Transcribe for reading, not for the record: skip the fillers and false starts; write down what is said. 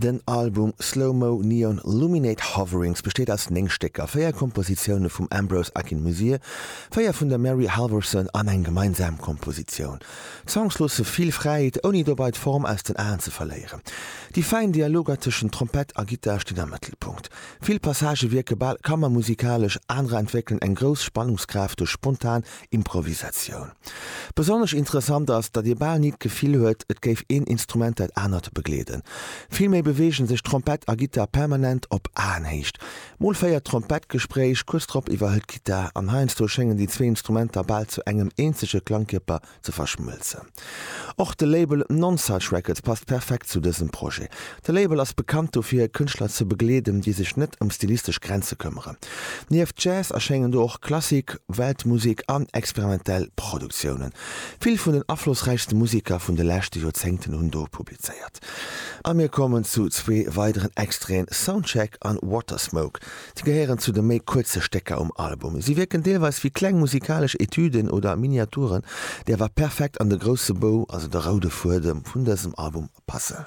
Den Album Slow Mo Neon Luminate Hoverings besteet aus 9 Stécker, 4 Kompositioune vum Ambrose Akinmusire, 4 vun der Mary Halvorson an eng gemeinsam Kompositioun. D'Songs loosse vill Fräiheet, ouni dobei d'Form aus den Aen ze verléieren. Déi fäin Dialoger tëschent Trompett a Gittar stinn am Mëttelpunkt. Vill Passagë wierke bal kammermusikalesch, anerer entwéckelen eng grouss Spannungskraaft duerch spontan Improvisatioun. Besonnesch interessant ass, datt ee bal ni d'Gefill huet, et géif een Instrument dat anert begleeden. Villméi beweege sech Trompett a Gittar permanent op Aenhéicht. Mol féiert d'Trompett d'Gespréich, kuerz drop iwwerhëlt d'Gittar, an heiansdo schéngen déi zwee Instrumenter bal zu engem eenzege Klangkierper ze verschmëlzen. Och de Label Nonesuch Records passt perfekt zu dësem Projet. De Label ass bekannt dofir, Kënschtler ze begleeden, déi sech net ëm stilistesch Grenze këmmeren. Nieft Jazz erschéngen do och Klassik, Weltmusek an experimentell Produktiounen. Vill vun den aflossräichste Museker vun de leschte Joerzéngten hunn do publizéiert. A mir kommen zu zwee weideren Extraiten, Soundcheck an Watersmoke. Si gehéieren zu de méi kuerze Stécker um Album. Si wierken deelweis wéi kleng musikalesch Etüden oder Miniaturen, déi awer perfekt an de grousse Bou, also de roude Fuedem vun dësem Album passen.